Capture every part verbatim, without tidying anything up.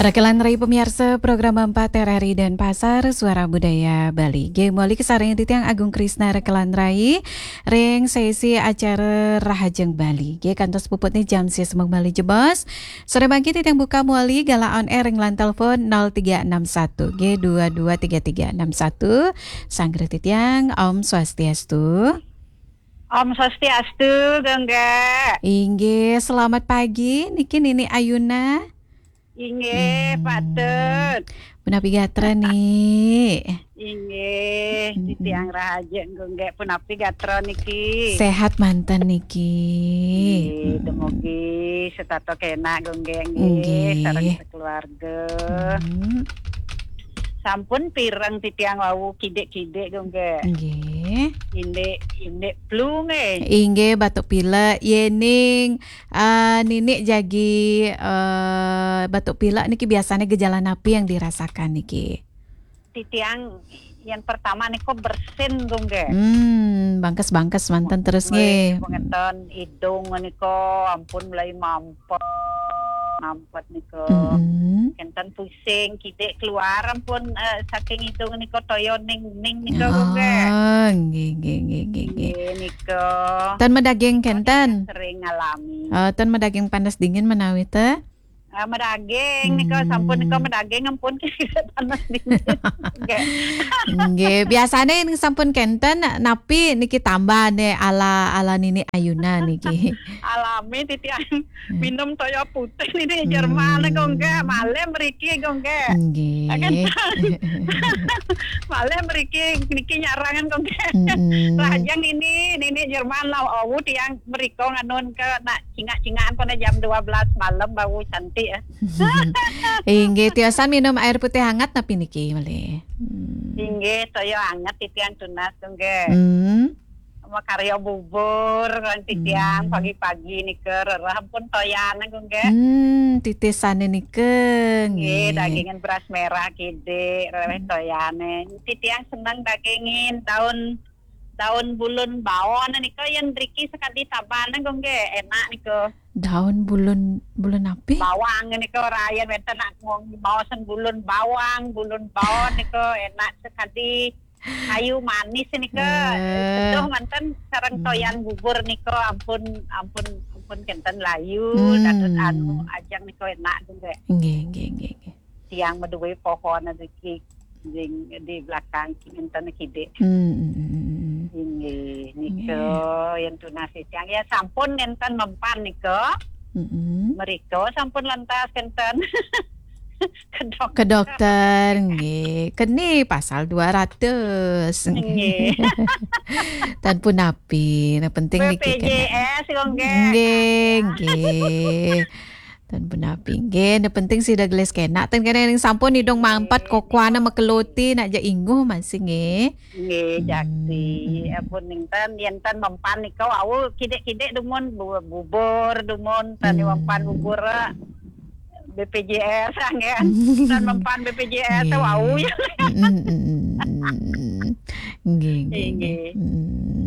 Rekelan rai pamiarsa program empat R R I Denpasar, Suara Budaya Bali. Nggih, mawali kasarengin titiang Agung Krisna Rekelan rai ring sesi acara Rahajeng Bali. Nggih, kantos puputne jam sesembung malih jebos. Sore mangkin titiang buka mawali galah on air ring line telepon nol tiga enam satu, nggih, dua dua tiga tiga enam satu. Sanggra titiang, Om Swastiastu. Om Swastiastu, Gongge. Inggih, selamat pagi. Niki Nini Ayuna. Inggih, Hmm. Patut. Punapi gatra, Ni? Inggih, Mm-mm. Titiang rahaja, Gongge. Punapi gatra niki? Sehat manten niki. Inggih, Mm-mm. Dumugi setata kenak, Gongge, nggih, Inggih. Sareng sakeluarga. Mm. Sampun pireng titiang wau kidik-kidik, Gongge? Nggih. Indik, indik flu, nggih. Inggih, batuk pilek. Yening, ah, Nini jagi, eh, batuk pilek niki biasanya gejala napi yang dirasakan niki? Titiang yang pertama niko bersin, Gongge. Hmm, bangkes-bangkes manten terus, mulai nggih. Niku ngeten, idung niko ampun mulai mampet, mampet niko. Mm-mm. Kenten pusing, kidik keluar ampun, eh, saking idung niko toya ning-ning niko, Gongge. Ah, nggih, nggih, nggih, nggih, nggih. Nggih, niko. Ten madaging kenten? Sering ngalami. Eh, ten madaging panas dingin menawi te? Eh, madaging niko, sampun niko Hmm. madaging ampun panas dingin. Nggih. Nggih, biasane ning sampun kenten napi niki tambahane ala, ala Nini Ayuna niki? Alami titiang Hmm. minum toya putih niki Jerman, Hmm. Gongge, malih mriki, Gongge. Nggih. Kenten. Malih mriki niki nyarangan, Gongge. Mm-mm. Lajeng ini, Nini Jerman lah, awu tiang mriko nganun ke nak cingak-cingakan pada jam dua belas malam bau cantik, eh. Inggih, tiosan minum air putih hangat napi niki malih? Hmm. Inggih, toya hangat titiang tunas, Gongge. Hmm. Makarya bubur, kan titiang Hmm. pagi-pagi nika rereh pun toyan, Gongge. Hmm, titisane nika, Nggih, nggih. Dagingan beras merah kidik, rereh Hmm. toyane. Titiang seneng dagingin daun, daun bulun bawon nika yen mriki sekadi taban, Gongge, enak nika. Daun bulun, bulun napi? Bawang nika, ora yen wenten nak ngomong maosen bulun bawang, bulun bawon nika enak sekadi kayu manis nika. Eh. Seduh manten sareng Hmm. toyan bubur nika ampun, ampun, ampun kenten layu, Hmm. dados anu ajeng nika enak, Gongge. Nggih, nggih, nggih, nggih. Tiang maduwe pohon niki, jing di belakang kinten kidik. Hmm, hmm, hmm, hmm. Inggih, nika Nggih. yen tunas titiang ya sampun nenten mempan nika. Mm-mm. Mrika sampun lantas kenten ke dokter. Ke dokter, nggih. Keni pasal dua ratus. Nggih. Tan punapi, nah penting niki kena. B P J S, Gongge. Nggih, nggih. Tan punapi, nggih. Nah penting sida gelis kena. Tan kena ning sampun idung mampet, nggih, kokoana makeloti, nak ja inguh masih, nggih. Nggih, jaksi. Hmm. Ampun, enten, yen ten mempan nika wau kidik-kidik dumun bu-, bubur, dumun ten Hmm. mempan bubur, eh, B P J S, anggen. Ten mempan B P J S, Nggih. Wau ya. Mm, mm, mm, mm, mm. Nggih, nggih, nggih. Nggih. Mm.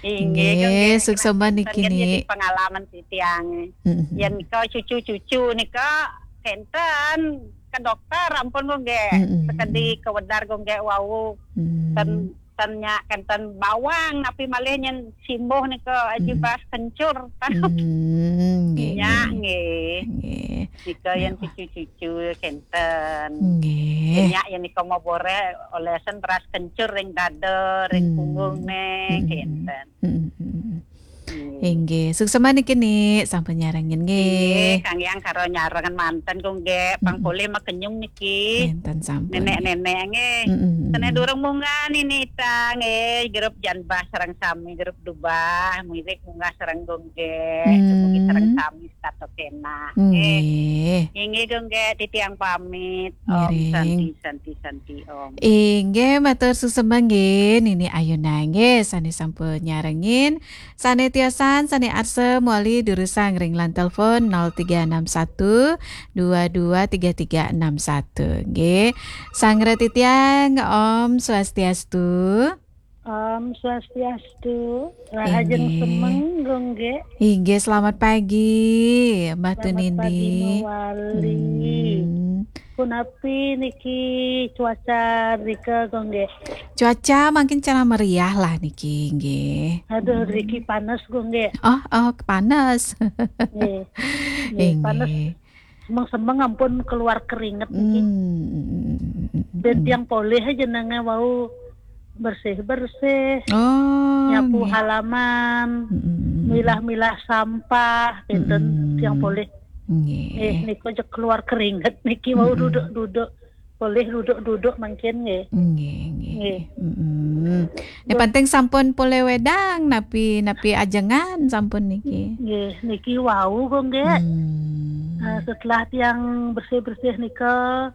Nggih, nggih, nggih, suksma niki, jadi pengalaman titiang. Mm, mm. Yen nika cucu-cucu nika kenten ke dokter, ampun, Gongge. Mm, mm, sekadi mm. Kewedar, Gongge, wau. Mm. Ten Ten nyak kenten bawang, napi malih nyen simbuh nika aji Hmm. beras kencur. Hmm, nggih, Nyak, nggih. Nggih. Nggih. Nika yen Nggih. Cucu-cucu kenten. Nggih. Nyak yen nika mau boreh olesen beras kencur ring dada, ring Hmm. Punggung ne, Hmm. Kenten. Hmm, hmm, hmm. Nggih. Inggih, suksma niki, Ni, sampun nyarengin nggih. Nggih, kangge karo nyarengan manten, Gongge, pang Hmm. polih makenyung niki. Nenten sampun. Nenek-nenek nggih. Hmm, hmm, hmm. Sane durung munggah nini ita nggih, grup Janbah sareng sami, grup Dubah, muirik munggah sareng Gongge, Hmm. Dumugi sareng sami setata kena. Nggih. Nggih. Inggih, Gongge, titiang pamit. Om Ngiring. Santi, Santi, Santi, Om. Inggih, matur suksma nggih, Nini Ayuna nggih, sane sampun nyarengin. Sane tiosan, sane arsa mawali durusang ring line telepon nol tiga enam satu dua dua tiga tiga enam satu. Nggih. Sanggra titiang, Om Swastiastu. Om Swastiastu. Rahajeng Inggih. Semeng, Gongge. Inggih, selamat pagi, Mbah Selamat pagi, Tunindi. Mawali. Hmm. Punapi niki cuaca rika, Gung, nggih? Cuaca mangkin cara meriah lah niki, nggih. Aduh, riki panas, Gung, nggih. Oh, oh, panas. Nggih. Nggih, panas. Inggih. Semeng-semeng ampun keluar keringet niki. Hmm. Ben tiang polih jenenge wau bersih-bersih, Oh, nyapu nggih. Halaman, Mm-mm. Milah-milah sampah, kinten. Mm-mm. Tiang polih. Nggih. Eh, niku aja keluar keringet niki, wau Mm-mm. Duduk-duduk. Polih duduk-duduk mangkin, nggih. Nggih, nggih. Nggih. Mm-mm. Nek penting sampun polih wedang, napi, napi ajengan sampun niki. Nggih, niki wau, Gung, nggih. Hmm. Eh, setelah tiang bersih-bersih nika,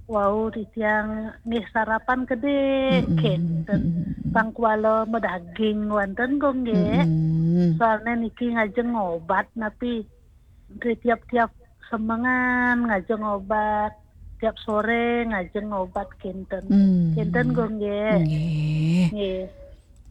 wau titiang nggih sarapan kedek, Mm-mm. kinten. Mm-mm. Pang kuala medaging wonten, Gung, nggih. Mm-mm. Soalnya niki ngajeng obat napi. Nggih, tiap-tiap semengan ngajeng obat, tiap sore ngajeng obat, kinten. Hmm. Kinten, Gung, nggih. Nggih. Nggih.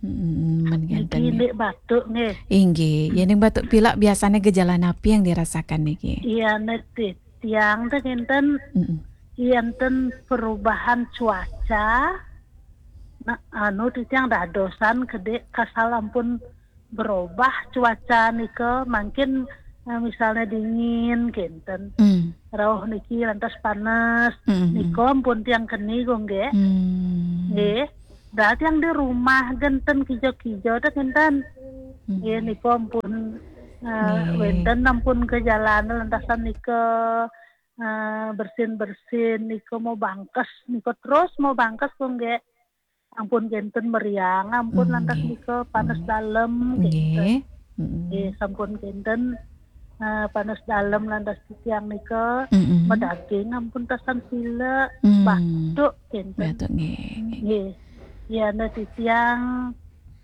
Mm-mm, men Niki kinten, nggih. Ndik batuk, nggih. Inggih, yen ning batuk pilek biasanya gejala napi yang dirasakan niki? Iya, nek titiang teh kinten, Mm-mm. enten perubahan cuaca. Nah, anu titiang dadosan kedek kasal ampun berubah cuaca nika, mangkin, eh, misalnya dingin, kinten. Mm. Rauh niki lantas panas. Mm-mm. Nika ampun tiang keni, Gung, nggih. Hmm. Nggih. Dah tiang di rumah genten kijo-kijo teh kinten. Mm. Nggih, nika ampun, eh, Nggih. wenten ampun ke jalan lantasan nika, eh, bersin-bersin nika mau bangkes, nika terus mau bangkes, Gung, nggih. Ampun kinten meriang, ampun lantas Nggih. nika panas dalem, kinten. Nggih. Mm-mm. Nggih, sampun kinten, eh, panas dalem lantas titiang nika Mm-mm. medaging ampun tasan pilek, Hmm. Batuk, kinten. Batuk, nggih. Nggih. Iya, ne titiang,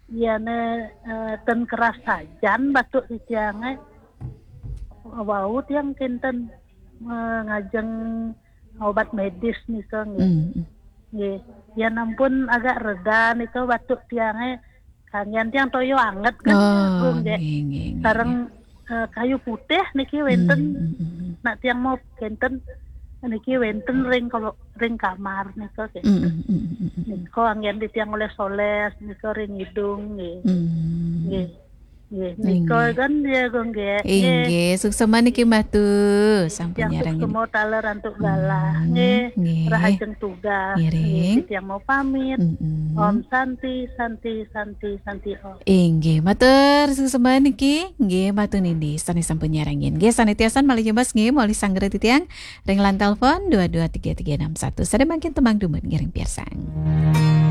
iya, ne, eh, ten keras sajan batuk titiang, eh. Wau tiang kinten, eh, ngajeng obat medis nika, nggih. Mm. Nggih. Yen ampun agak reda nika batuk tiange, kanggian tiang toyo anget kan, Oh, Gung, nggih. Nggih, nggih, nggih. Sareng, eh, kayu putih niki wenten. Mm, mm, mm. Nak tiang mau kinten niki wenten ring, kalau ring kamar nika, Mm, kinten. Mm, mm, mm, mm. Nika anggen di tiang oles-oles nika ring hidung, nggih. Mm. Nggih. Nggih, Inggih. nika kan dia, Gung, nggih. Nggih. Inggih, suksema niki Mbah Tu, sampun Tiang nyarengin. Suksema taler antuk galah, Hmm, nggih. nggih. Rahajeng tugas, Ngiring. nggih. Tiang mau pamit. Mm-mm. Om Santi, Santi, Santi, Santi Om. Inggih, matur suksema niki. Nggih, matur nindi sane sampun nyarengin. Nggih, sane tiasan malih jebas nggih, malih sanggra titiang ring line telepon dua dua tiga tiga enam satu. Sade mangkin tembang dumun ngiring piarsang.